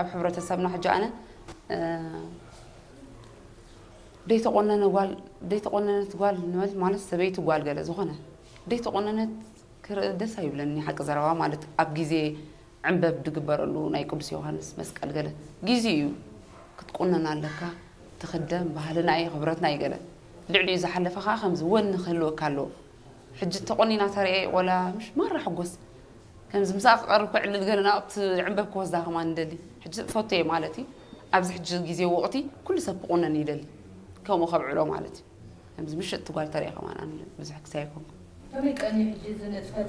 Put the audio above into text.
ኣብ ሕብረተሰብና ሕጂ ኣነ እ፣ ደይተቆነነ ጓል ደይተቆነነት ጓል ንበል ማለት ሰበይቲ ጓል ገለ ዝኾነ ደይተቆነነት ክርኢ ደስ ኣይብለኒ። ሓቂ ዘረባ ማለት ኣብ ግዜ ዕንበብ ድግበረሉ ናይ ቅዱስ ዮሃንስ መስቀል ገለ ግዜ እዩ ክትቁነን ኣለካ። ትኽደም ባህልና እዩ ክብረትና እዩ ገለ ልዕሊኡ ዝሓለፈ ከዓ ከምዚ ወኒ ክህልወካ ኣለዎ። ሕጂ ተቆኒና ተርእየ ቆላ ምሽ ማራ ሕጎስ ከምዚ ምሳኣ ክቐርብ ክዕልል ገለ ናብቲ ዕንበብ ክወስዳ ከማን ንደሊ። ሕጂ ፈትየ ማለት እዩ። ኣብዚ ሕጂ ግዜ ወቕቲ ኩሉ ሰብ ክቑነን ይደሊ። ከምኡ ከብዕሎ ማለት እዩ። ከምዚ ምሽጥ ትጓል ተርእየ ከማን ኣነ ብዙሕ ክሳይ ኣይኮንኩ። ከመይ ቀንዩ ሕጂ እዚ ንጥፈት